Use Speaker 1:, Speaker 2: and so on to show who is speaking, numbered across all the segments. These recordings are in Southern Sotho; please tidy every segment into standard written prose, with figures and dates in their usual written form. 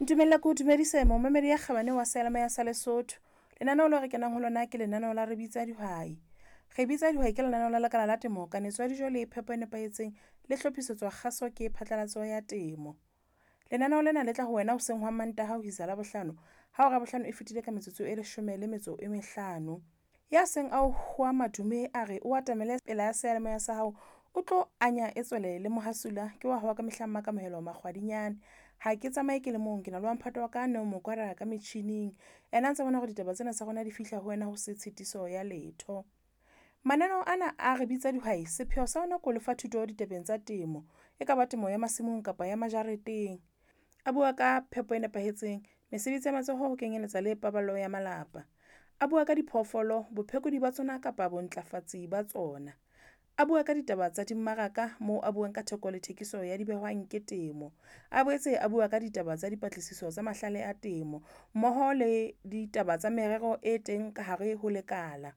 Speaker 1: Ntumella ke o dumedise momamedi ya kgabane wa seyalemoya sa Lesotho. Lenaneo leo re kenang ho lona ke lenaneo la re bitsa dihwai. Re bitsa dihwai ke lenaneo la lekala la temo, kanetso ya dijo le phepo e nepahetseng le hlophisetswa kgaso ke phatlalatso ya temo. Lenaneo lena le tla ho wena hoseng hwa Mantaha ho isa Labohlano ha hora ya bohlano e fetile ka metsotso e leshome le metso e mehlano. Ya seng a o hwa madume a re o atamele pela seyalemoya sa hao, o tlo anya e tswele le mohasula ke wa hao ka mehla Mmakamohelo Makgwadinyane. Ha ke tsamaye ke le mong, ke na le wa mphato wa ka Neo Mokwara ka metjhining. Ena a ntse bona hore ditaba tsena tsa rona di fihla ho wena ho se tshitiso ya letho. Mananeo ana a re bitsa dihwai, sepheo sa ona ke ho lefa thuto ditabeng tsa temo. E ka ba temo ya masimong kapa ya majareteng. A bua ka phepo e nepahetseng, mesebetsi ya matsoho ho kenyeletsa le paballo ya malapa. A bua ka diphoofolo, bophekodi ba tsona kapa bontlafatsi ba tsona. A bua ka ditaba tsa dimmaraka moo a buang ka theko le thekiso ya dibehwang ke temo. A boetse a bua ka ditaba tsa dipatlisiso tsa mahlale a temo mmoho le ditaba tsa merero e teng ka hare ho lekala.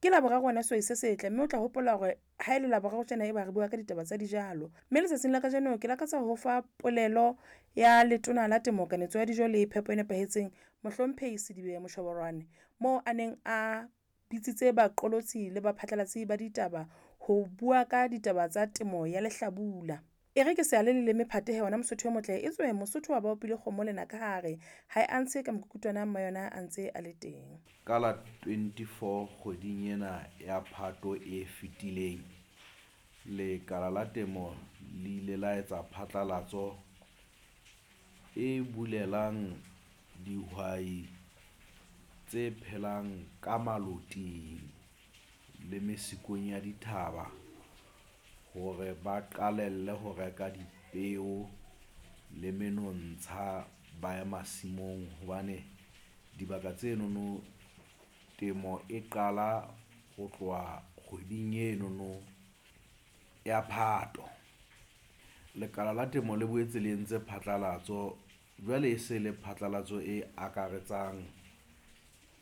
Speaker 1: Ke Laboraro wena sehwai se setle, mme o tla hopola hore ha ele Laboraro tjena eba re bua ka ditaba tsa dijalo. Mme letsatsing la kajeno ke lakatsa ho fa polelo ya letona la temo, kanetso ya dijo le phepo e nepahetseng, Mohlomphehi Sedibe Moshoboroane, moo a neng a bitsitse baqolotsi le baphatlalatsi ba ditaba ho bua ka ditaba tsa temo ya lehlabula. E re ke se ale leleme phatehe wena Mosotho e motle, e tswe Mosotho wa ba opile kgomo lena ka hare, ha e a ntshe ka mokukutwana mma yona a ntse a le teng.
Speaker 2: Ka la 24 kgweding ena ya Phato e fetileng, Lekala la Temo le ile la etsa phatlalatso e bulelang dihwai tse phelang ka maloting le mesikong ya dithaba hore ba qalelle ho reka dipeo le menontsha ba ye masimong hobane dibaka tsenono temo e qala ho tloha kgweding enono ya Phato. Lekala la Temo le boetse le entse phatlalatso jwale e se le phatlalatso e akaretsang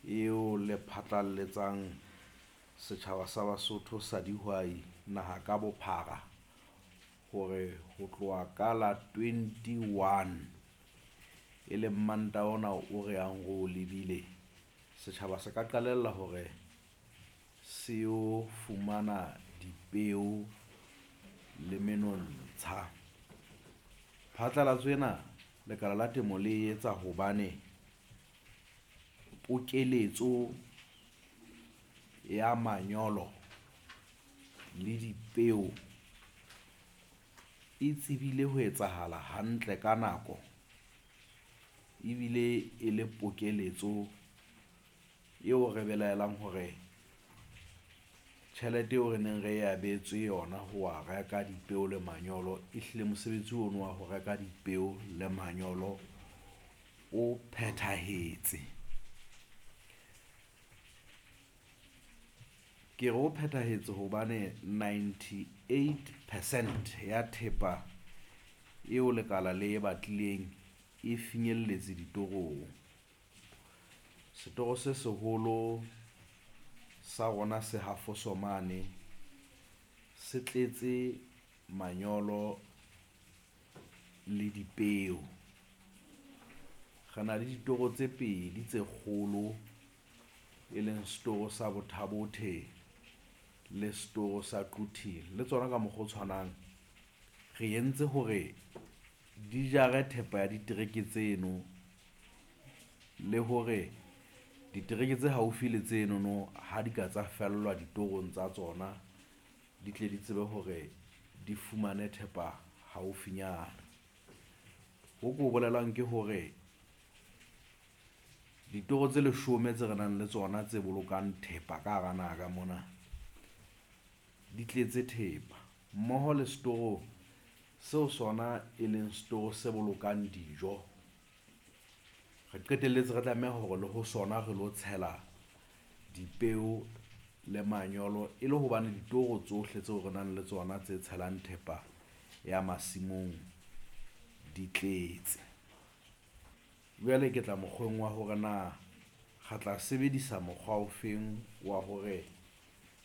Speaker 2: eo le phatlalletsang setjhaba sa Basotho sa dihwai naha ka bophara hore ho tloha ka la 21 e leng Mantaha ona o re yang ro o lebile, setjhaba se ka qalella hore se yo fumana dipeo le menontsha. Phatlalatso ena Lekala la Temo le etsa hobane pokeletso ya manyolo le dipeo e tsebile ho etsahala hantle ka nako ebile e le pokeletso eo re belaelang hore tjhelete eo re neng re abetswe yona ho wa reka dipeo le manyolo e hlile mosebetsi ono wa ho reka dipeo le manyolo o phethahetse. Ke re o phethahetse hobane 98 percent ya thepa eo lekala le e batlileng e finyelletse ditorong. Setoro se seholo sa rona se ha Vosomane se tletse manyolo le dipeo. Re na le ditoro tse pedi tse kgolo, e leng setoro sa Botha Bothe le setoro sa Quthing le tsona ka mokgwa o tshwanang re entse hore di jare thepa ya ditereke tseno le hore ditereke tse haufi le tsenono ha di ka tsa fellwa ditorong tsa tsona, di tle di tsebe hore di fumane thepa haufinyana. Ho ko bolelang ke hore ditoro tse leshome tse re nang le tsona tse bolokang thepa ka hara naha ka mona di tletse thepa mmoho le setoro seo sona e leng setoro se bolokang dijo. Re qetelletse re tlameha hore le ho sona re lo tshela dipeo le manyolo e le hobane ditoro tsohle tseo re nang le tsona tse tshelang thepa ya masimong di tletse. Jwale ke tla mokgweng wa hore na re tla sebedisa mokgwa o feng wa hore